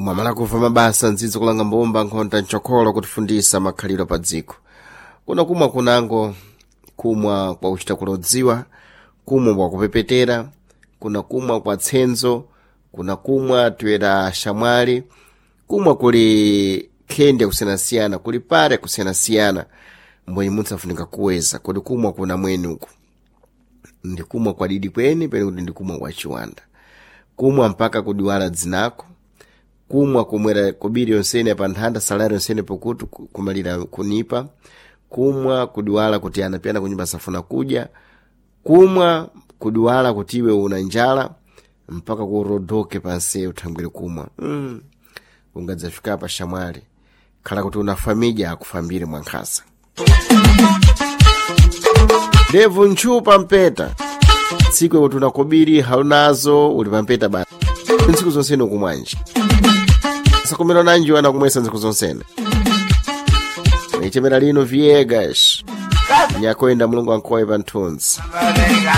Mwamala kuva mabasa ndzidzo kulanga mbumba nkhonta mchokholo kutifundisa makhalidwe pa dziko. Kuna kumwa kunango kumwa kwa kuchita kulodziwa, kumwa kwa kupepetera, kuna kumwa kwa tsenzo, kuna kumwa tuyera shamwali, kumwa kuli khende kusiyanasiyana, kuli pare kusiyanasiyana, mbwenye munthu afunika kuweza kuti kumwa kuna mweni uku ndikumwa kwa didi kweni pene kuti ndikumwa kwa chiwanda, kumwa mpaka kudiwala dzinako, kumwa kumwera kobiri yonsene pa nthanda salari yonsene pokuti kumalira kunipa, kumwa kudiwala kuti anapiyana kunyumba safuna kudya, kumwa kudiwala kuti iwe una njala mpaka kurodoke pansi uthangwire kumwa. Ungadzafika pa shamwali khala kuti una famija akufambire mwankhasa ndevu ntchupa mpeta tsiku kuti unakobiri haunazo uli pampeta basi ntsiku zonsene ukumwanji sakumira nanji wana kumwesa ntsiku zonsene ichemera lino Viegas nyakoyenda mulungu ankoye pa nthunzi.